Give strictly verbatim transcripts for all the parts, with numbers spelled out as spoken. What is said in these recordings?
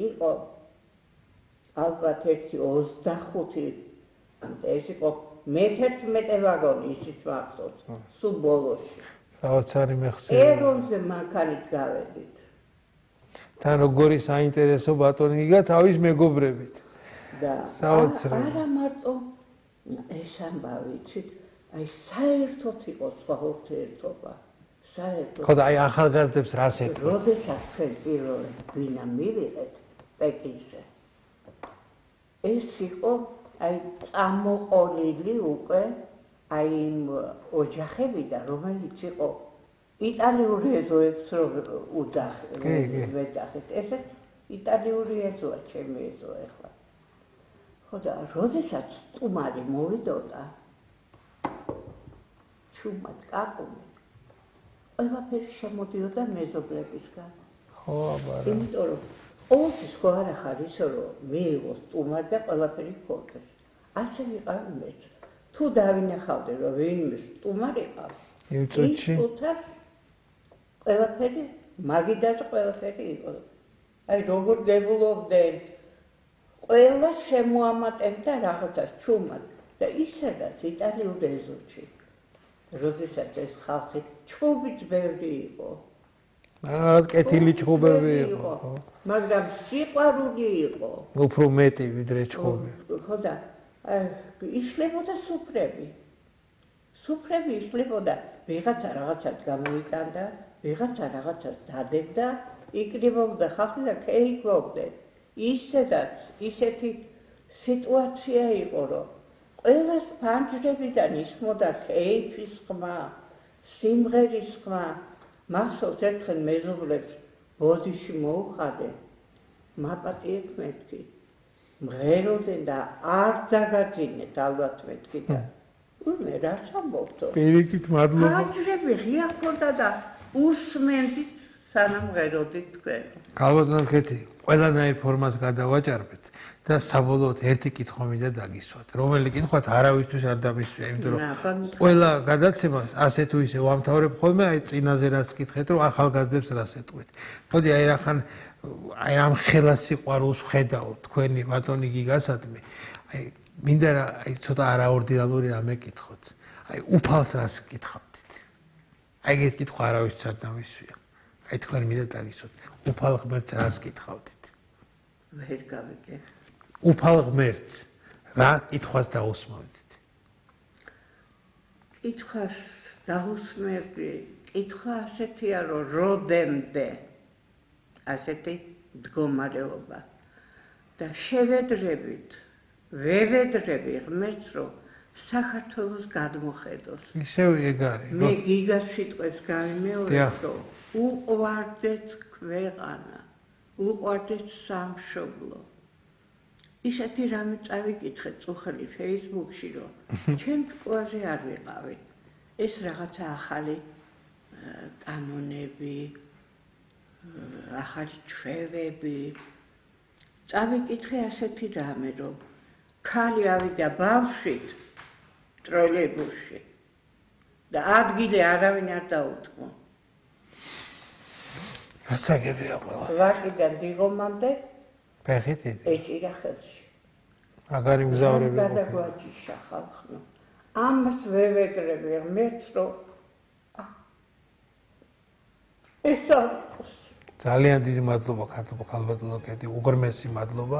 იყო ალბათ ერთი ოცდახუთი ეს იყო მეთერთმეტე ვაგონი ისიც მახსოვს სულ ბოლოში საოცარი მეხსიერება ეროვნზე მანქანით გავედით თან როგორი საინტერესო ბატონი გიგა თავის მეგობრებით და არა მარტო ეს ამბავი იცით აი საერთოდ იყო სხვა ურთიერთობა საერთოდ ხო და აი ახალგაზრდებს რას ეთქვით როდესაც ჩვენ პირველად გვინა მივიღეთ პეკინზე ეს იყო აი წამოყოლილი უკვე აი იმ ოჯახებიდან რომელიც იყო იტალიური ეზოებს რომ უძახეთ ესეც იტალიური ეზოა ჩემი ეზო ახლა ხო და როდესაც სტუმარი მოვიდოდა ჩუმად კაკუნი ყველაფერი შემოდიოდა მეზობლებისგან ხო აბარა იმიტომ რომ ყოველთვის ხო არ ახარ ისო რომ მიიღო სტუმარი და ყველაფერი ქონდეს ასე ვიყავი მეც თუ დავინახავდი რომ ვინმე სტუმარი ყავს იმ წუთში ყველაფერი მაგიდას ყველაფერი იყო აი როგორ გებულობდნენ ყველა შემოამატებდა რაღაცას ჩუმად და ისედაც იტალიურ ეზოში როდესაც ეს ხალხი ჩუბიც ბევრი იყო რაღაც კეთილი ჩუბები იყო მაგრამ სიყვარული იყო უფრო მეტი ვიდრე ჩუბი ხო და იშლებოდა სუფრები სუფრები იშლებოდა ვიღაცა რაღაცას გამოიტანდა ვიღაცა რაღაცას დადებდა იკრიბობდა ხალხი და კეიკობდნენ ისედაც ისეთი სიტუაცია იყო რომ ყველას ფანჯრებიდან ისმოდა კეიფის ხმა სიმღერის ხმა მახსოვს ერთხელ მეზობლებს ბოდიში მოუხადე მაპატიეთ მეთქი მღეროდნენ და არ დაგაძინეთ ალბათ მეთქი და მე რაც ამბობთო პირიქით მადლობა ფანჯრები ღია ჰქონდა და უსმენდით სანამ მღეროდით თქვენ გალბატონო კეთი ყველანაირ ფორმას გადავაჭარბეთ და საბოლოოდ ერთი კითხვა მინდა დაგისვათ რომელი კითხვაც არავისთვის არ დამისვია იმიტომ რომ ყველა გადაცემას ასე თუ ისე ვამთავრებ ხოლმე აი წინაზე რაც კითხეთ რომ ახალგაზრდებს რას ეტყვით მოდი აი რახან აი ამ ხელა სიყვარულს ვხედავ თქვენი ბატონი გიგასადმი აი მინდა რა აი ცოტა არაორდინალური რამე კითხოთ აი უფალს რას კითხავდით აი ეგეთ კითხვა არავისთვის არ დამისვია აი თქვენ მინდა დაგისვათ უფალ ღმერთს რას კითხავდით ვერ გავიგე უფალ ღმერთს რა კითხვას დაусმევდით კითხვას დაусმევდი კითხვა ასეთია რომ როდემდე ასეთი მდგომარეობა და შევედრებით ვევედრები ღმერთს რომ საქართველოს გადმოხედოს ისევ ეგ არის მე გიგას სიტყვებს გავიმეორებ რომ უყვარდეთ ქვეყანა უყვარდეთ სამშობლო ისეთი რამე წავიკითხეთ წუხელი Facebook-ში რომ ჩემ ტყუაზე არ ვიყავი ეს რაღაცა ახალი კანონები ახალი ჩვევები წავიკითხე ასეთი რამე რომ ქალი ავიდა ბავშვით ტროლეიბუსში და ადგილი არავინ არ დაუთმო გასაგებია ყველა ვაკიდან დიღომამდე ფეხით ეჭირა ხელში მაგარი მგზავრები გადაგვაჯიშა ხალხმა ამას ვევედრები ღმერთს რომ ეს არის ძალიან დიდი მადლობა ქალბატონო კეთი უღრმესი მადლობა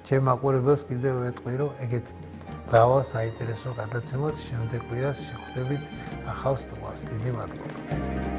ჩემ მაყურებელს კიდევ ვეტყვი რომ ეგეთ მრავალ საინტერესო გადაცემას შემდეგ კვირას შეხვდებით ახალ სტუმარს დიდი მადლობა